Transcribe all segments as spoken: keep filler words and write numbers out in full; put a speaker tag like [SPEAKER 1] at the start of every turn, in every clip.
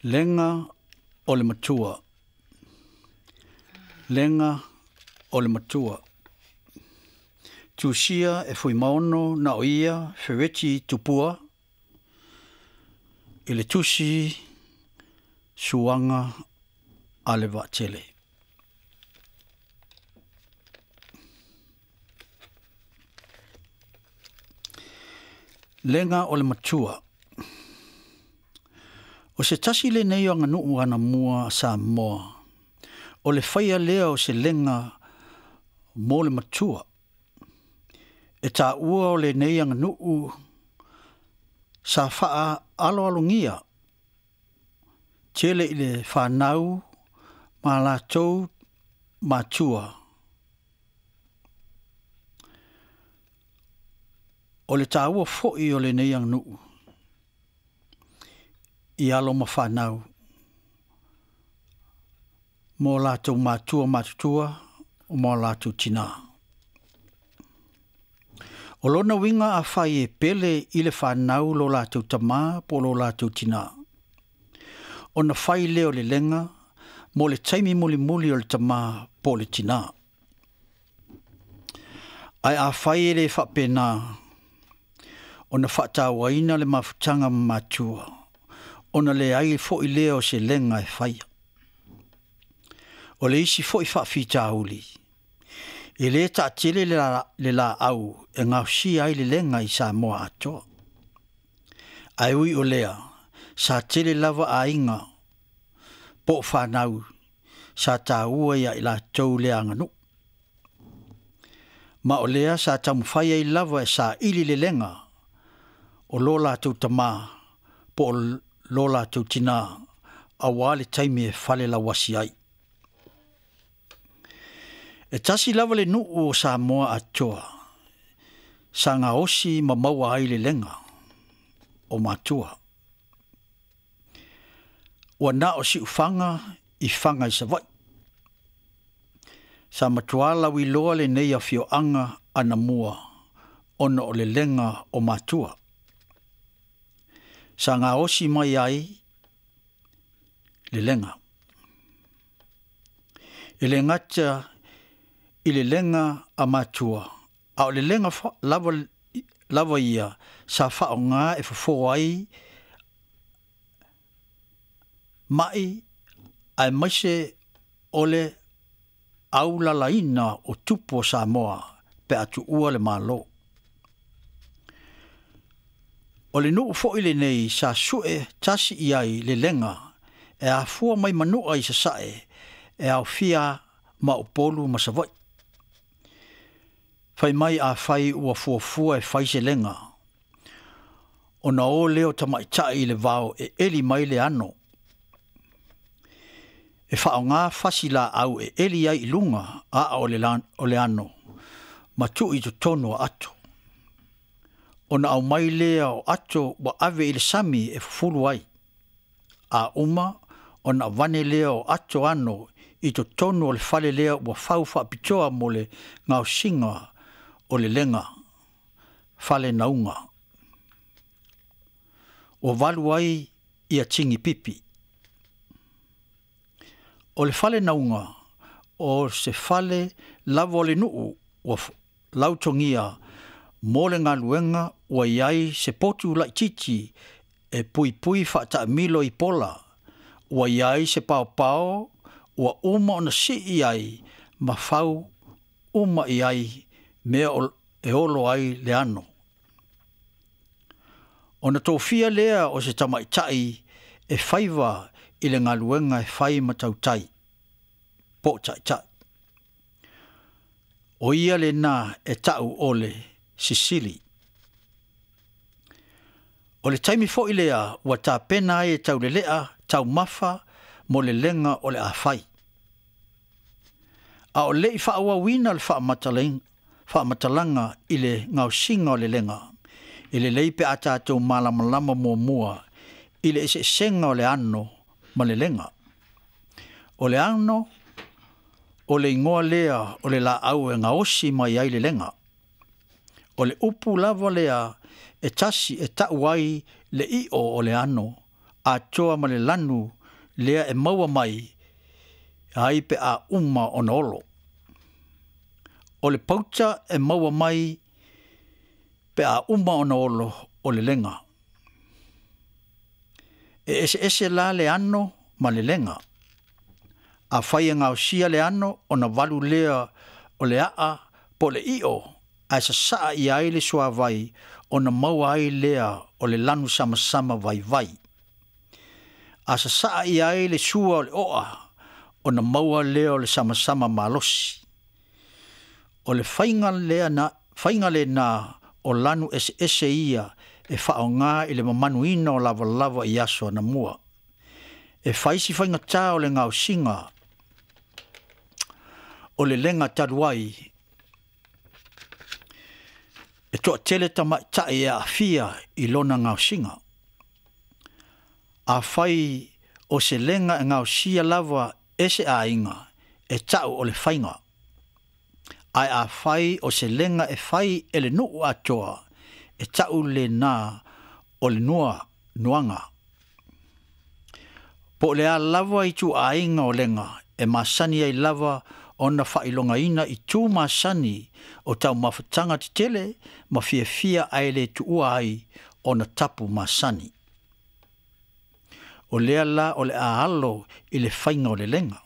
[SPEAKER 1] Lega o le matua. Lega o le matua. Tusia e Fuimaono na o ia Fereti Tupua i le tusi suaga a le vaatele. Lega o le matua. O se tasi le nei o aganuu anamua a Samoa, o le faia lea o se lega mo le matua. E tāua o le nei aganuu sa faa aloalogia, tele i le whanau ma latou matua. O le tāua foi o le nei aganuu, i alo ma whanau, mō lātou matua matutua, o mō lātou tina. O lona winga a whai e pele i le whanau lo lātou tamā po lo lātou tina. O na whai leo le lenga, mō le taimi muli muli o le tamā po le tina. Ai a whai e le whapena, o na whaatauaina le mafutanga matua, o na le ai fo i leo se lenga e whaia. O le isi fo i whaafitauli. E le taatele le la, le la au e ngausia ai le lenga i Samoa atoa. Ai ui o lea, sa tele lava a inga, po whanau, sa tāua ia i la tau le anganu. Ma o lea sa taumawhai ai lava e sa ili le lenga, o lo lātou tamā, po o lo lātou tina, a wā le taimi e fale lawasi ai. E tasi lava le nuu o Samoa atoa, sa ngā osi ma maua ai le lenga, o matua. Ua na o si ufanga i whanga i Savai. Sa matua lawi loa le nei a fioanga anamua, ona o le lenga o matua. Sa ngā osi mai ai le lenga. E le ngata i le lenga a matua, a o le lenga lava, lava ia sa whaonga e fofo ai mai ai maise o le aulalaina o tupu o Samoa pe atu ua le malo. O le nuu foi le nei sa sue tasi i ai le lenga e afua mai manua i sasae e au fia ma upolu ma Savai. Whai mai a whai ua fuafua e whai se lenga. O na o leo tamaitai i le vao e eli mai le ano. E whaonga whasi la au e eli ai i lunga a o le, lan, o le ano. Ma tu i totonu a ato. O na au mai lea o ato wa ave i le sami e fufulu ai. A uma o na vane lea o ato ano i totonu o le fale lea ua fau whaapitoa mo le ngausinga o le lenga, fale naunga. O valu ai ia tingi pipi. O le fale naunga, o se fale lava o le nuu ua lautongia mo le ngaluenga ua iai se potu laititi e pui pui whaataamilo i pola, ua iai se paopao ua uma ona sii ai ma fau uma i ai mea e olo ai le ano. O na tōfia lea o se tamaitai e whaiwa i le ngaluenga e whai matautai, po taitai. O ia le nā e tau ole Sisili. O le taimi foi lea ua tāpena ai e taulelea tau mafa mo le lenga o le awhai. A o le i whaawawina le whaamatalanga i le ngausinga o le lenga, i le leipe a tātou malamalama mua i le eseesenga o le ano ma le lenga. O le ano, o le ingoa lea o le laau e ngaosi mai ai le lenga. O le upu lava lea e tasi e tau ai le io o le ano, atoa ma le lanu lea e maua mai ai pe a uma ona olo. O le pauta e maua mai pe a uma ona olo o le lega. E ese ese la le ano ma le lega. A fai e gaosia le ano ona valu lea o le aa po le io ae sasaa i ai le suavai ona maua ai lea o le lanu samasama vaivai. A sasaa i ai le sua o le oa ona maua lea o le samasama malosi. O le faiga lea na, faiga lena o lanu ese ese ia e faaaoga i le mamanuina o lavalava i aso anamua. E fai si faigatā o le gaosiga o le lega talu ai e toatele tamaʻitaʻi e aafia i lona gaosiga. Afai o se lega e gaosia lava e se aiga e taʻu o le faiga. Ae afai o se lega e fai e le nuu atoa e taʻu lenā o le nua nuaga. Po o le a lava ituaiga o lega e masani ai lava ona faailogaina i tu masani o taumafataga tetele ma fiafia ae le tuua ai ona tapu masani. O lea la o le a alo i le faiga o le lega.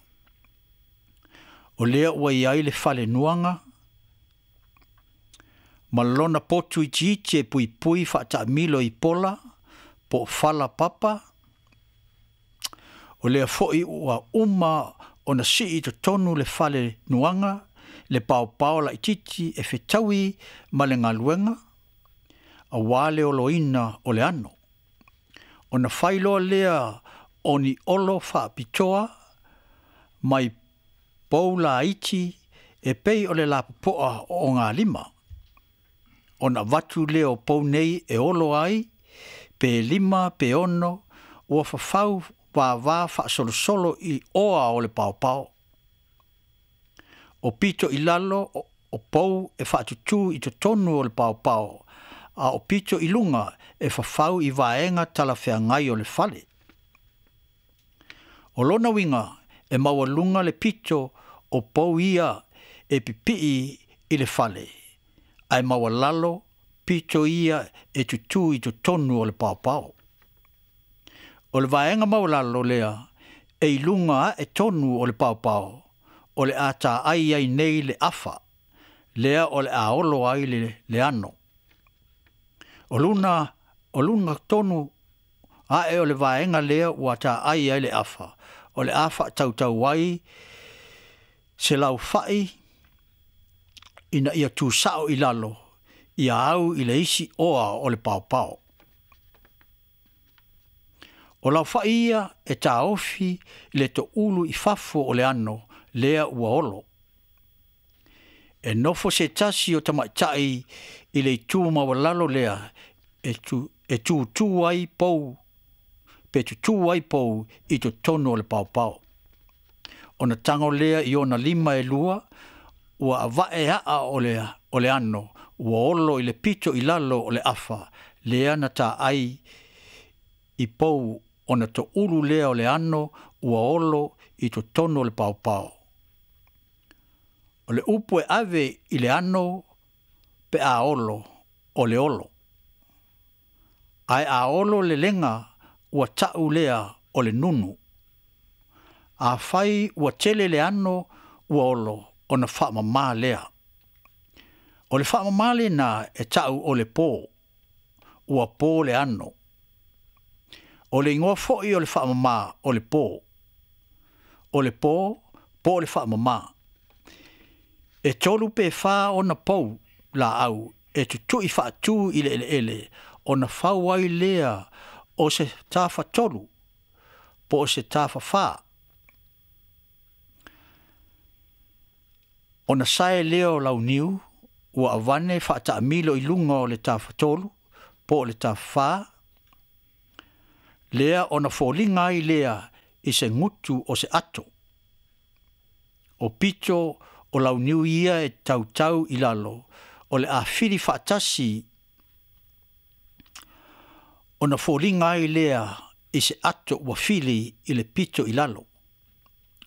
[SPEAKER 1] O lea ua i ai le fale nuaga ma lona potu itiiti e puipui faataamilo i pola po o fala papa. O lea foi ua uma ona sii i totonu le fale nuaga le paopao laititi e fetaui ma le galuega auā le oloina o le ano. Ona fai loa lea o ni olo faapitoa mai pou laiti e pei o le lapopoa o ogalima. Ona avatu lea o pou nei e olo ai pe lima pe ono ua fafau vavā faasolosolo i oa o le paopao. O pito i lalo o pou e faatutū i totonu o le paopao, a o pito i luga e fafau i vaega talafeagai o le fale. O lona uiga e maualuga le pito o pou ia e pipii i le fale, ae maualalo pito ia e tutū i totonu o le paopao. O le vaega maualalo lea e i luga ae tonu o le paopao, o le a taai ai nei le afa, lea o le a olo ai le, le ano. O luna, o luna tonu ae o le vaega lea ua taai ai le afa, o le a faatautau ai se laufai ina ia tusao i lalo, ia au i le isi oa o le paopao. O laufai ia e taofi i le toulu i fafo o le ano lea ua olo. E nofo se tasi o tamaʻitaʻi i le itu maualalo lea e tu, e tutū ai pou, pe tutū ai pou i totonu o le paopao. Ona tago lea i ona lima e lua, ua avae aa o le, o le ano, ua olo i le pito i lalo o le afa, lea na taai i pou ona toulu lea o le ano ua olo i totonu o le paopao. O le upu e ave i le ano pe a olo o le olo. Ae a olo le lega ua taʻu lea o le nunu. Afai ua tele le ano ua olo ona faamamā lea. O le faamamā lenā e taʻu o le pō, ua pō le ano. O le igoa foi o le faamamā o le pō. O le pō, po o le faamamā. E tolu pe fā ona pou laau e tutui faatū i le eleele ona fau ai lea o se tafatolu po o se tafafā. Ona sae lea o launiu ua avane faataamilo i luga o le tafatolu po o le tafafā lea ona foliga ai lea i se gutu o se ato. O pito o launiu ia e tautau i lalo o le afili faatasi ona foliga ai lea i se ato ua fili i le pito i lalo.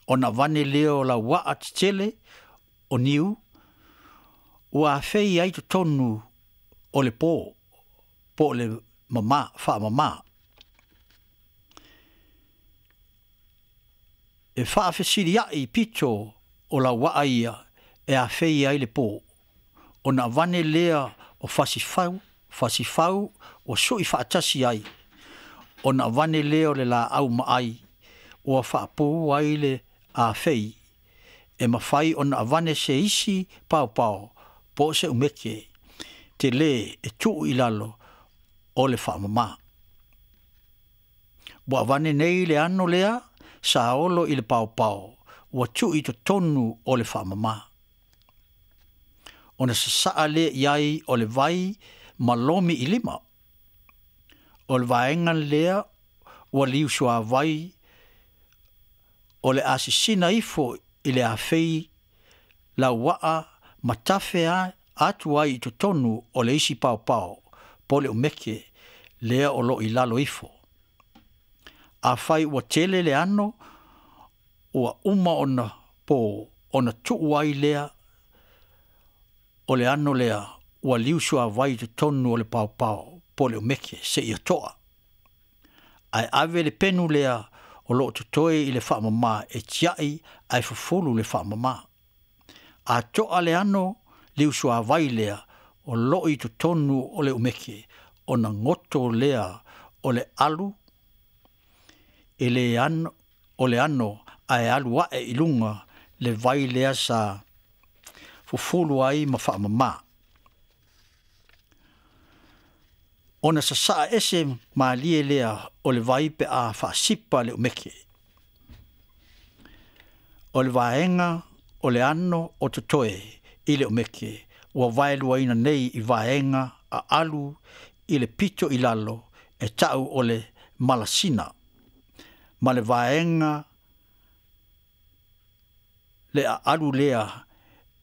[SPEAKER 1] Ona avane lea o lauaa tetele o niu ua afei ai totonu o le po po o le mamā faamamā. E faafesilia'i pito o lauaa ia e afei ai le po. Ona avane lea o fasifau fasifau ua su'i faatasi ai. Ona avane lea o le laau maai ua faapou ai le afei e mafai ona avane se isi paopao po o se umeke telē e tuu i lalo o le faamamā. Ua avane nei le ano lea sa olo i le paopao ua tuu i totonu o le faamamā. Ona sasaa lea i ai o le vai ma lomi i lima. O le vaega lea ua liusuavai o le asisina ifo i le afei lauaa ma tafe atu ai i totonu o le isi paopao po o le umeke lea o loo i lalo ifo. Afai ua tele le ano ua uma ona po, ona tuu ai lea o le ano lea ua liusuavai i totonu o le paopao po o le umeke seia toa. Ae ave le penu lea o loo totoe i le faamamā e tiai ae fufulu le faamamā. A toa le ano liusuavai lea o loo i totonu o le umeke, ona goto lea o le alu e le ano, o le ano ae alu ae i luga le vai lea sa fufulu ai ma faamamā. Ona sasaa ese malie lea o le vai pe a faasipa le umeke. O le vaega o le ano o totoe i le umeke ua vaeluaina nei i vaega a alu i le pito i lalo e tau o le malasina ma le vaega le aalu lea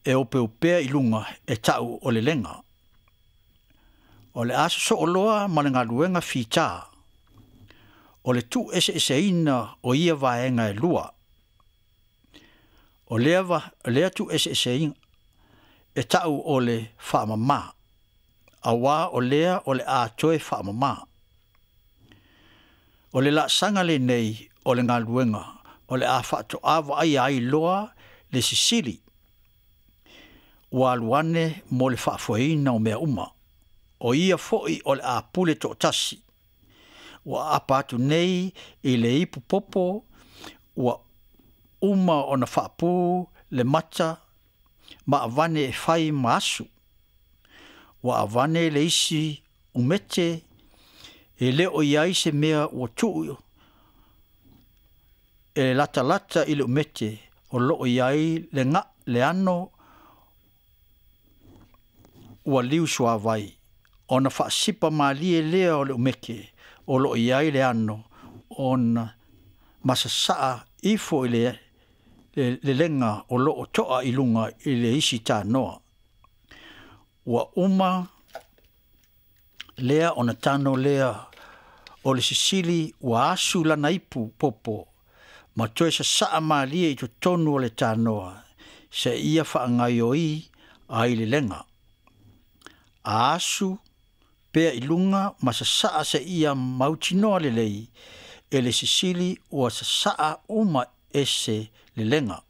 [SPEAKER 1] e opeopea i luga e tau o le lega. O le aso sooloa ma le galuega fitā o le tuueseeseina o ia vaega e lua. O lea, va, lea tuueseeseina e tau o le faamamā, auā o lea o le a toe faamamā. O le laasaga lenei o le galuega o le a faatoā vaaia ai loa le sisili ua alu ane mo le faafoeina o mea uma. O ia fo'i o le a pule toatasi. Ua aapa atu nei i le ipu popo ua uma ona faapū le mata ma avane e fai ma asu. Ua avane le isi umete e le o i ai se mea ua tuu e latalata i le umete o loo i ai le ga le ano ua liusuavai. Ona faasipa malie lea o le umeke o loo i ai le ano ona masasaa ifo i le le, le lega o loo toa i luga i le isi tanoa. Ua uma lea ona tano lea o le sisili ua asu lana ipu popo ma toe sasaa malie i totonu o le tanoa seia faagaioi ai le lega. A asu pea i luga ma sasaa seia mautinoa lelei e le sisili ua sasaa uma ese le lega.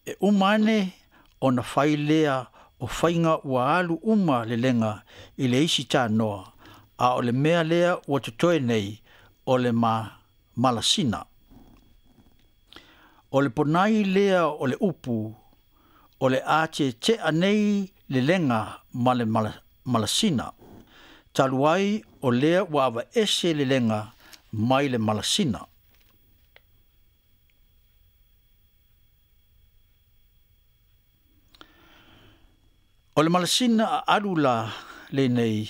[SPEAKER 1] E uma ane ona fai lea o faiga ua alu uma le lega i le isi tanoa, a o le mea lea ua totoe nei o le ma malasina. O le ponai lea o le upu o le a tetea nei le lega ma le malasina. Talu ai o lea ua avaese le lega mai le malasina. O le malasina a alu la lenei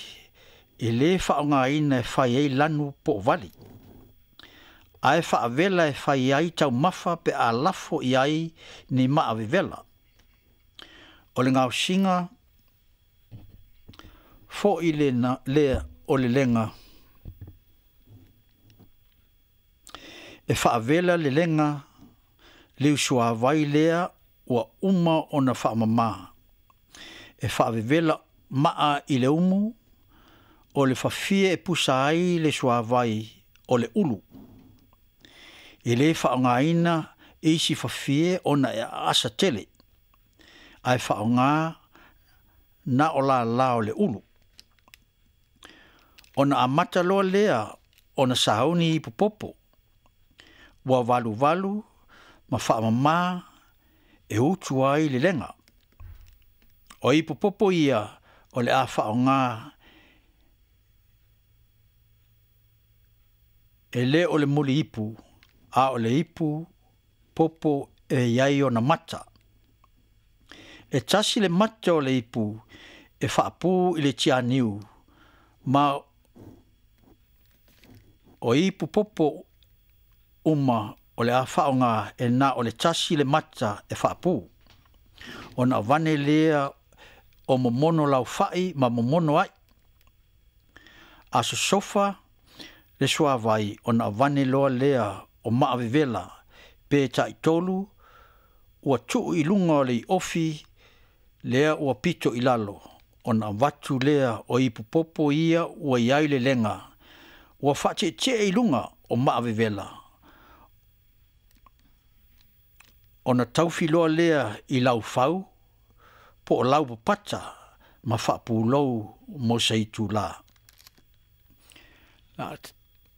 [SPEAKER 1] e lē faaaogāina e fai ai lanu po o vali, ae faavela e fai ai taumafa pe a lafo i ai ni maavevela. O le gaosiga fo'i lena lea o le lega E faavela le lega liu suāvai lea ua uma ona faamamā. E faavevela maa i le umu o le fafie e pusa ai le suāvai o le ulu. E lē faaaogāina isi fafie ona e aasa tele, ae faaaogā na o lalā o le ulu. Ona amata loa lea ona sauni ipu popo, ua valuvalu ma faamamā e utu ai le lega. O ipu popo ia o le a faaaogā e lē o le muli ipu, a o le ipu popo e iai ona mata. E tasi le mata o le ipu e faapū i le tianiu, ma o ipu popo uma o le a faaaogā e na o le tasi le mata e faapū. Ona avane lea o momono laufa'i ma momono ai. A sosofa le suāvai ona avane loa lea o maa vevela pe taʻitolu ua tuu i luga o le iofi lea ua pito i lalo, ona avatu lea o ipu popo ia ua i ai le lega ua faatietie i luga o maa vevela, ona taufiloa lea i laufau po o laupapata ma faapulou mo se itulā.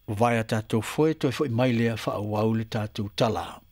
[SPEAKER 1] Vae a tatou foe toe fo'i mai lea faaauau le tatou tala.